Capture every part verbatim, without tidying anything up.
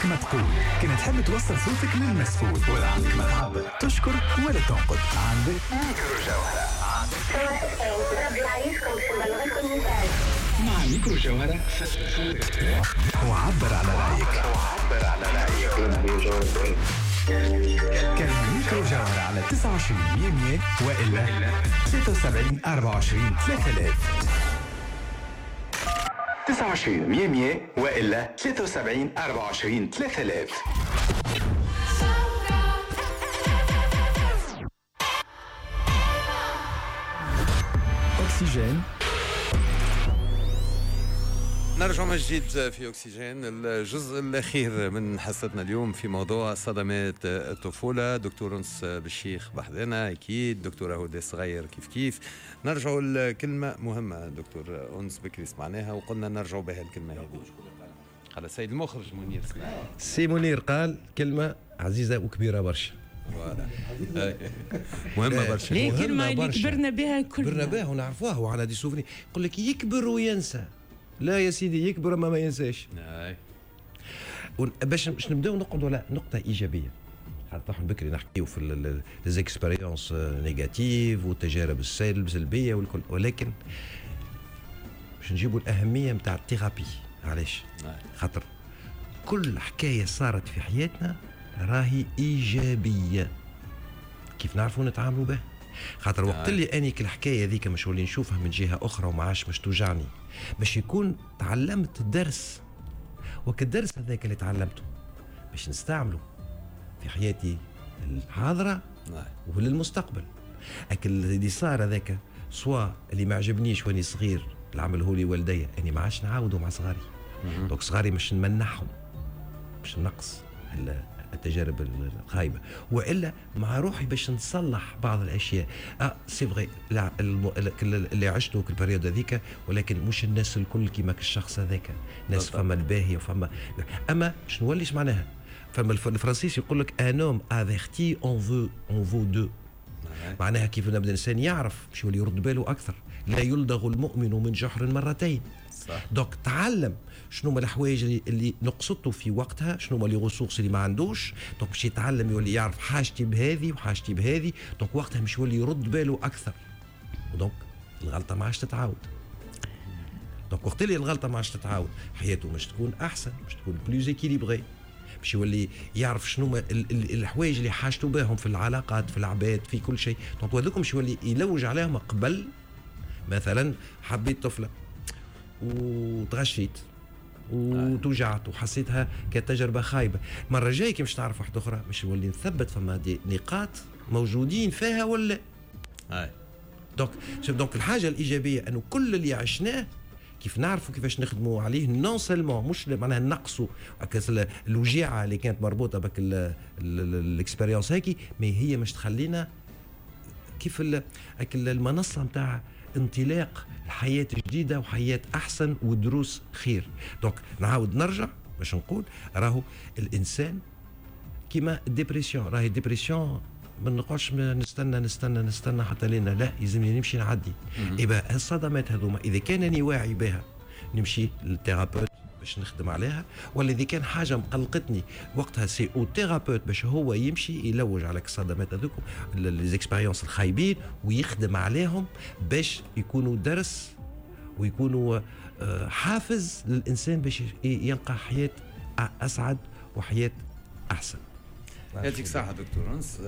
ما تقول كان تحب توصل صوتك للمسؤول، ولا عندك ما تعبر، تشكر ولا تنقد، عندك ميكرو جوهرة. مع ميكرو جوهرة وعبر على رأيك. وعبر على رأيك. كلمة ميكرو جوهرة على تسعة وعشرين مية مية وإلا ثلاثة وسبعين أربعة وعشرين ثلاثة آلاف. تسعة وعشرين مية مية وإلا ثلاثة وسبعين أربعة وعشرين ثلاثة آلاف. أكسجين. نرجع من جديد في أكسجين، الجزء الأخير من حصتنا اليوم في موضوع صدمات الطفولة. دكتور أنس بالشيخ بحذنا أكيد، دكتورة هدى صغير كيف كيف. نرجع لكلمة مهمة دكتور أنس بكري سمعناها وقلنا نرجع بها الكلمة هذه. على السيد المخرج منير سمع. سي منير قال كلمة عزيزة وكبيرة برشا. مهمة برشا. ليه كلمة اللي كبرنا بها كلنا. كبرنا بها ونعرفوها وعلى des souvenirs. يقول لك يكبر وينسى. لا يا سيدي، يكبر ما ما ينساش. باش باش نبداو نقعدوا على نقطة ايجابية. حتى نحن بكري نحكيو في les expériences négatives والتجارب السلبية والكل، ولكن باش نجيبوا الاهمية نتاع ال thérapie. علاش؟ خاطر كل حكاية صارت في حياتنا راهي ايجابية كيف نعرفوا نتعاملوا بها. خاطر وقت اللي اني الحكاية هذيك مش ولي نشوفها من جهة اخرى وما عادش مش توجعني، باش يكون تعلمت درس، وكالدرس هذاك اللي تعلمته باش نستعمله في حياتي الحاضرة وللمستقبل. اكل اللي صار هذاك سوا اللي ما عجبنيش واني صغير اللي عمله لي والدي، اني ما عادش نعاوده مع صغاري. donc صغاري مش نمنحهم، مش نقص التجارب الخايبة، والا مع روحي باش نصلح بعض الاشياء. اه c'est vrai اللي عشته في ال période هذيك، ولكن مش الناس الكل كيما الشخص هذاك. ناس فما الباهيه وفما اما باش نوليش معناها. فما الفرنسيس يقول لك un homme averti en vaut en vaut deux. معناها كيف نبدا الانسان يعرف باش يولي يرد باله اكثر. لا يلدغ المؤمن من جحر مرتين. صح. donc تعلم شنو هما الحوايج اللي, اللي نقصته في وقتها، شنو هما les ressources اللي ما عندوش. donc باش يتعلم يولي يعرف حاجتي بهذه وحاجتي بهذه. donc وقتها مش يولي يرد باله اكثر، و donc الغلطة ما عادش تتعاود. donc وقت اللي الغلطة ما عادش تتعاود حياته مش تكون احسن، مش تكون plus équilibrée، باش يولي يعرف شنو الحوايج اللي حاجته بهم في العلاقات، في العباد، في كل شيء. donc هذوك مش يولي يلوج عليهم قبل. مثلا حبيت طفله وتغشيت وتوجعت وحسيتها كتجربة خايبة، المرة الجاية كي مش تعرف واحدة اخرى مش نولي نثبت فما des نقاط موجودين فيها ولا. اي donc donc الحاجة الايجابية انه كل اللي عشناه كيف نعرفوا كيفاش نخدموا عليه، non seulement مش معناها نقصوا الوجيعه اللي كانت مربوطة بك ال expérience هيك، mais هي مش تخلينا كيف المنصة نتاع انطلاق الحياة جديدة وحياة أحسن ودروس خير. donc نعاود نرجع باش نقول راهو الإنسان كيما ال dépression، راهي ال dépression ما نقعدش نستنى نستنى نستنى حتى لنا، لا يلزمني نمشي نعدي. إبا الصدمات هذوما إذا كان أني واعي بها نمشي لل thérapeute باش نخدم عليها، ولا إذا كان حاجة مقلقتني وقتها c'est au thérapeute باش هو يمشي يلوج على الصدمات هذوك les expériences الخايبين ويخدم عليهم باش يكونوا درس ويكونوا حافز للإنسان باش يلقى حياة أسعد وحياة أحسن. يعطيك الصحة دكتور أنس.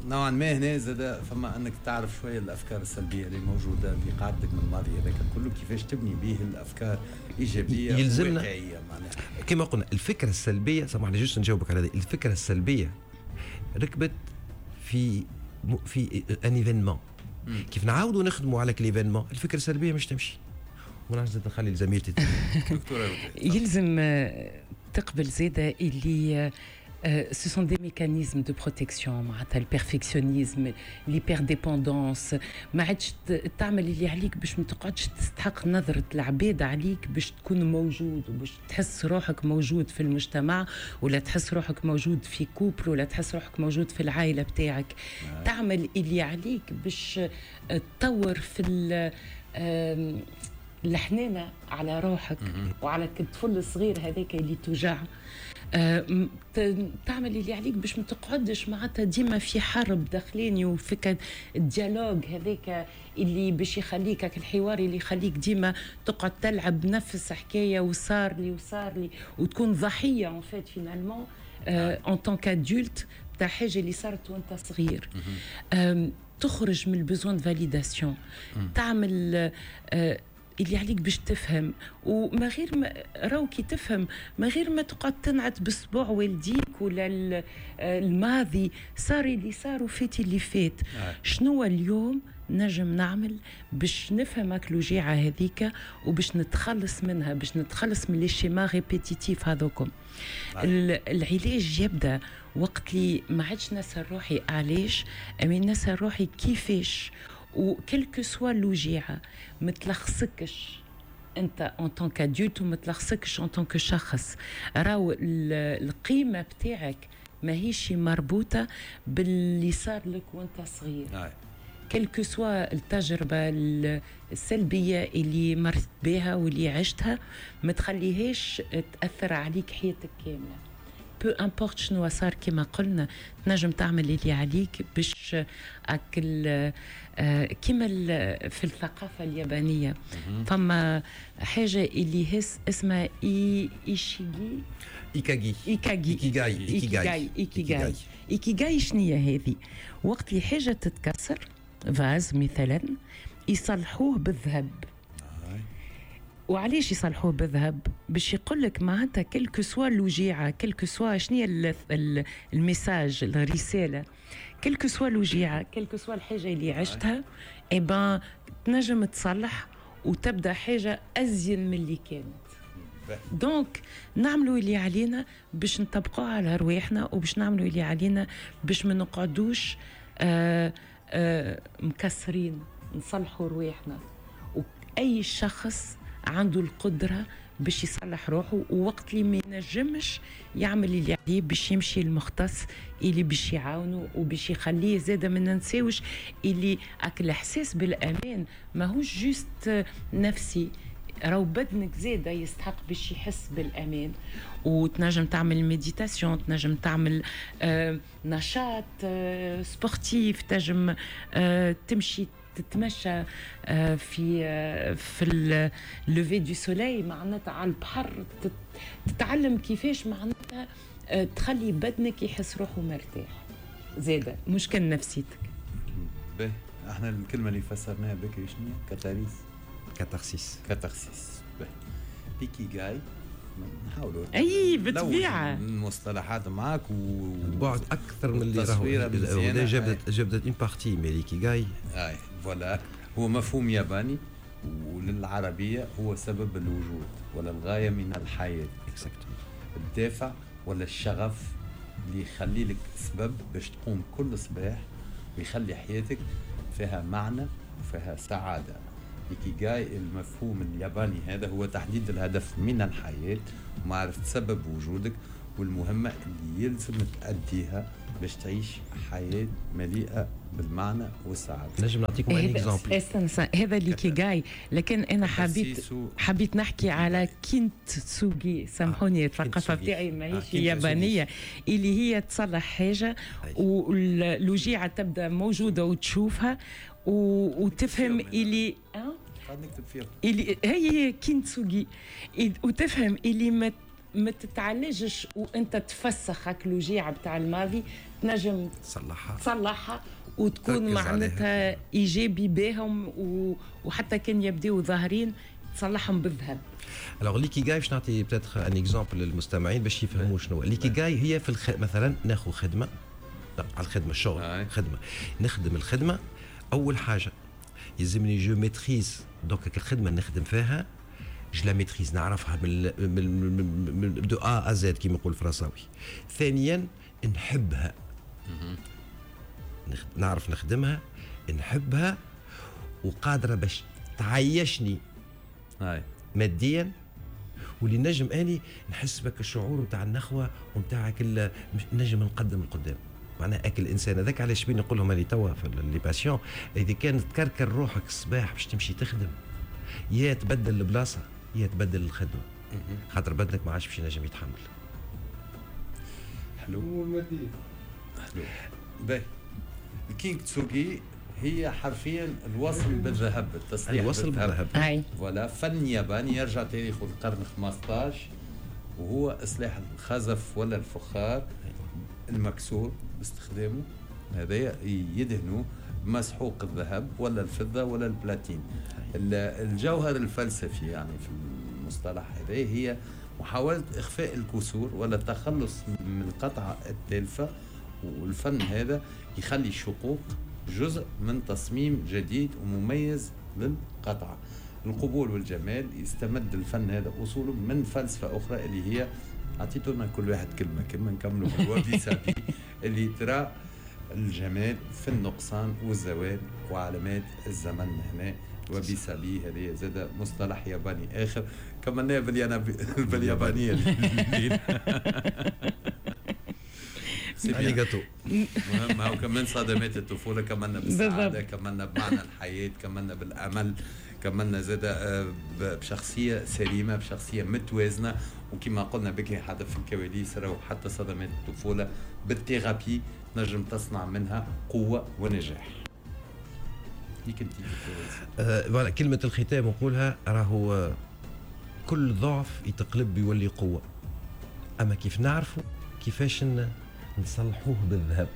نوعا ما هنا زاد فما أنك تعرف شوية الأفكار السلبية اللي موجودة اللي قعدتك من الماضي هذاك كله، كيفاش تبني به الأفكار إيجابية يلزمنا وواقعية. معناها كما قلنا الفكرة السلبية، سامحني juste نجاوبك على هذه الفكرة السلبية، ركبت في في un événement. كيف نعاودوا نخدموا على l'événement الفكرة السلبية مش تمشي. ونعرف نخلي لزميلتي دكتورة يلزم تقبل زادة اللي ce sont des mécanismes de protection، معناتها ال perfectionnisme، l'hyperdépendance، ما عادش تعمل اللي عليك باش ما تقعدش تستحق نظرة العباد عليك باش تكون موجود وباش تحس روحك موجود في المجتمع، ولا تحس روحك موجود في couple، ولا تحس روحك موجود في العائلة بتاعك. تعمل اللي عليك باش تطور في الحنانه على روحك وعلى الطفل الصغير هذاك اللي توجع. أه تعمل اللي عليك باش ما تقعدش معناتها ديما في حرب داخليني وفك ال dialogue هذاك اللي باش يخليك، الحوار اللي يخليك ديما تقعد تلعب نفس حكاية وصار لي وصار لي وتكون ضحية en fait finalement en tant qu'adulte تاع حاجة اللي صارت وانت صغير. تخرج من ال besoin de validation، تعمل أه اللي عليك باش تفهم، وما غير ما راهو كي تفهم ما غير ما تقعد تنعت بصبع والديك ولا الماضي، صار اللي صار وفات اللي فات. شنو اليوم نجم نعمل باش نفهم الوجيعه هذيك وباش نتخلص منها، باش نتخلص من les schémas répétitifs هذوكم. العلاج يبدا وقت اللي ما عادش نسال روحي علاش، اما نسال روحي كيفاش. و quelle que soit الوجيعه ما تلخصكش انت en tant qu'adulte وما تلخصكش en tant que شخص. راهو القيمة بتاعك ماهيش مربوطة باللي صار لك وانت صغير، quelle que soit التجربة السلبية اللي مرت بها واللي عشتها ما تخليهاش تاثر عليك حياتك كاملة. peu importe شنو صار، كما قلنا تنجم تعمل اللي عليك باش اكل. كما في الثقافة اليابانية فما حاجة اللي هي اسمها اي ايشيغي ايكاغي ايكاغي ايكيغاي ايكيغاي ايكيغاي ايكيغاي شنو هي هذه؟ وقت اللي حاجة تتكسر، vase مثلا، يصلحوه بالذهب. وعلاش يصلحوه بالذهب؟ باش يقول لك معناتها quelle que soit الوجيعه، quelle que soit شنو هي ال message، الرساله، quelle que soit الوجيعه، quelle que soit الحاجة اللي عشتها، eh ben تنجم تصلح وتبدا حاجة ازين من اللي كانت. donc نعملوا اللي علينا باش نطبقوها على رواحنا، وباش نعملوا اللي علينا باش ما نقعدوش آه آه مكسرين، نصلحوا رواحنا. واي شخص عنده القدرة باش يصلح روحه، ووقت اللي ما ينجمش يعمل اللي عليه باش يمشي المختص اللي باش يعاونه وباش يخليه. زاده ما ننساوش اللي اك الاحساس بالامان ماهوش juste نفسي، راهو بدنك زاده يستحق باش يحس بالامان. وتنجم تعمل méditation، تنجم تعمل آه نشاط آه sportif، تنجم آه تمشي تتمشى في في ال lever du soleil معناتها على البحر، تتعلم كيفاش معناتها تخلي بدنك يحس روحه مرتاح زاده، مش كان نفسيتك. باهي، احنا الكلمة اللي فسرناها بكري شنو؟ catharsis catharsis catharsis. باهي، ايكيغاي نحاولوا اي بالطبيعة المصطلحات معاك و بعد اكثر من اللي راهو جبدت جبدت une partie mais l'ikigai. اي voilà، هو مفهوم ياباني وللعربيه هو سبب الوجود ولا الغاية من الحياة. exactement، الدافع ولا الشغف اللي يخلي لك سبب باش تقوم كل صباح ويخلي حياتك فيها معنى وفيها سعادة. إيكيغاي المفهوم الياباني هذا هو تحديد الهدف من الحياة ومعرفة سبب وجودك والمهمة اللي يلزم تأديها باش تعيش حياة مليئة بالمعنى والسعادة. نجم نعطيكم un exemple. استنى، هذا l'ikigai، لكن أنا حبيت حبيت نحكي على كينتسوغي. سامحوني الثقافة بتاعي ماهيش يابانية، اللي هي تصلح حاجة والوجيعة تبدأ موجودة وتشوفها وتفهم اللي نكتب فيها اللي هي كينتسوغي، وتفهم اللي ما ما تتعالجش وانت تفسخ هاك الوجيعه بتاع الماضي، تنجم تصلحها تصلحها وتكون معناتها ايجابي بهم، وحتى كان يبداو ظاهرين تصلحهم بالذهب. alors l'ikigai باش نعطي peut-être un exemple للمستمعين باش يفهموا شنو l'ikigai. هي في الخ... مثلا ناخذ خدمة، على الخدمة الشغل، خدمة نخدم الخدمة. اول حاجة يلزمني je maîtrise donc الخدمة اللي نخدم فيها je la maîtrise، نعرفها من من de A à Z كيما يقول الفرنساوي. ثانيا نحبها، نعرف نخدمها، نحبها وقادرة باش تعيشني ماديا، واللي نجم اني نحس بك الشعور نتاع النخوه ونتاع كل نجم نقدم القدام. معناها اكل الانسان هذاك علاش بين نقول لهم اللي توا في les patients، اذا كان تكركر روحك الصباح باش تمشي تخدم يا تبدل البلاصة يا تبدل الخدمة، خاطر بدنك ما عادش باش ينجم يتحمل. حلو حلو. باهي الكينغ تسوغي هي حرفيا الوصل بالذهب، التصليح الوصل بالذهب. voilà، فن ياباني يرجع تاريخه للقرن خمسطاش، وهو اصلاح الخزف ولا الفخار المكسور باستخدامه هذايا، يدهنوا بمسحوق الذهب ولا الفضة ولا البلاتين. الجوهر الفلسفي يعني في المصطلح هذا هي محاولة إخفاء الكسور ولا التخلص من القطعة التالفة، والفن هذا يخلي الشقوق جزء من تصميم جديد ومميز للقطعة. القبول والجمال، يستمد الفن هذا أصوله من فلسفة أخرى اللي هي أعطيتونا كل واحد كلمة كلمة نكملوا بالوابي سابي، اللي ترى الجمال في النقصان والزوال وعلامات الزمن. هنا وابي سابي هذه زاد مصطلح ياباني آخر، كملناه باليابانية. اريغاتو. مهم هو كمان صدمات الطفولة، كملنا بالسعادة، كملنا بمعنى الحياة، كملنا بالأمل، كملنا زاد بشخصية سليمة، بشخصية متوازنة. وكما قلنا بكري حتى في الكواليس، راهو حتى صدمات الطفولة بال thérapie نجم تصنع منها قوة ونجاح. ليك انت آه كلمة الختام نقولها، راهو كل ضعف يتقلب يولي قوة، أما كيف نعرفوا كيفاش نصلحوه بالذهب،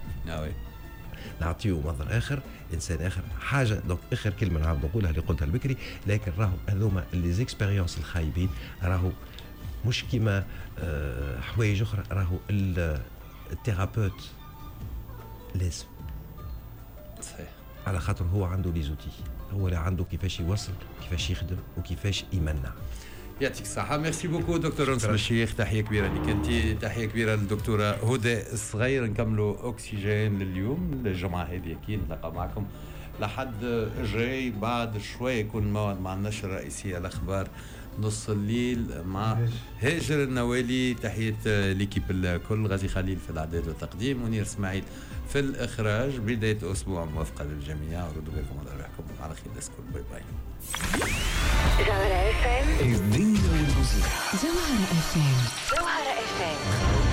نعطيه منظر اخر، انسان اخر، حاجة. donc اخر كلمة نعاود نقولها اللي قلتها البكري، لكن راهو هذوما les expériences الخايبين راهو مش كيما آه حوايج اخرى، راهو ال thérapeute لازم صحيح، على خاطر هو عنده les outils، هو اللي عنده كيفاش يوصل، كيفاش يخدم، وكيفاش يمنع. يعطيك الصحة، merci beaucoup دكتور أنس بالشيخ، تحية كبيرة لك أنت، تحية كبيرة للدكتورة هدى الصغير. نكملوا أكسجين لليوم الجمعة هذه، أكيد نتلاقى معكم لحد الجاي بعد شوي، يكون الموعد مع النشرة الرئيسية الأخبار نص الليل مع هاجر النوالي. تحية l'équipe الكل، غازي خليل في الإعداد والتقديم، منير إسماعيل في الإخراج. بداية أسبوع موفقة للجميع، ردوا بالكم على روحكم، على خير الناس الكل، bye bye. جوهرة اف ام، الدنيا والموسيقى. جوهرة اف ام، جوهرة اف ام.